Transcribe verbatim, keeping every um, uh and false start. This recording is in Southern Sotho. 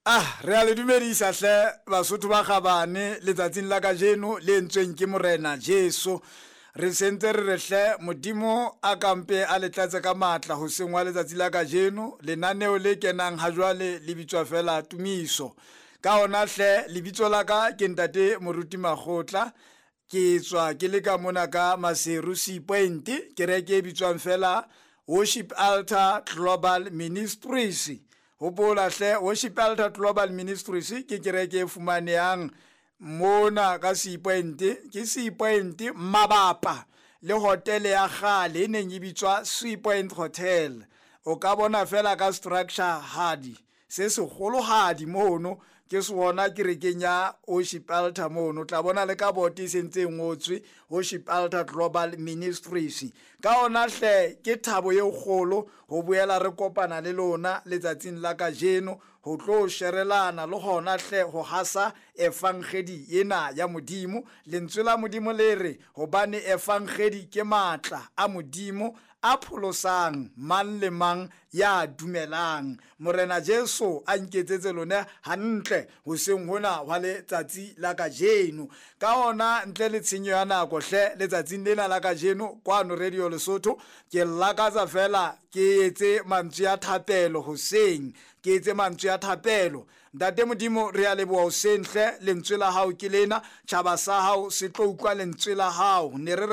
Ah, re a le dumedisa hle Basotho ba kgabane letsatsing la kajeno le entsweng ke Morena Jesu. Re sentse re re hle Modimo a kampe a le tlatse ka matla hoseng wa letsatsi la kajeno. Lenaneo le kenang ha jwale le bitswa fela Tumiso. Ka hona hle lebitso la ka ke Ntate Moruti Makgotla. Ke tswa ke le ka mona ka Maseru Sea Point, kereke e bitswang fela Worship Altar Global Ministries. Hopola hle Worship Altar Global Ministries ke kereke e fumanehang mona ka Sea Point, ke Sea Point mabapa le hotele ya kgale e neng e bitswa Sea Point Hotel. O ka bona fela ka structure hadi se segolohadi mono, ke sona kerekeng ya Worship Altar mono. O tla bona le ka bote e sentse e ngotswe Worship Altar Global Ministries. Ka ona hle ke thabo e kgolo ho boela re kopana le lona letsatsing la kajeno ho tlo sherelana le hona hle ho hasa evangedi ena ya Modimo. Lentswe la Modimo le re hobane evangedi ke matla a Modimo a pholosang mang le mang ya dumelang. Morena Jesu a nketsetse lona hantle hoseng hona hwa letsatsi la kajeno. Ka ona ntle le tshenyo ya nako hle letsatsing lena la kajeno kwano Radio Lesotho ke lakatsa fela ke etse mantswe a thapelo hoseng, ke etse mantswe a thapelo. Ntate Modimo re a leboha hoseng hle, lentswe la hao ke lena, tjhaba sa hao se tlo utlwa lentswe la hao. Ne re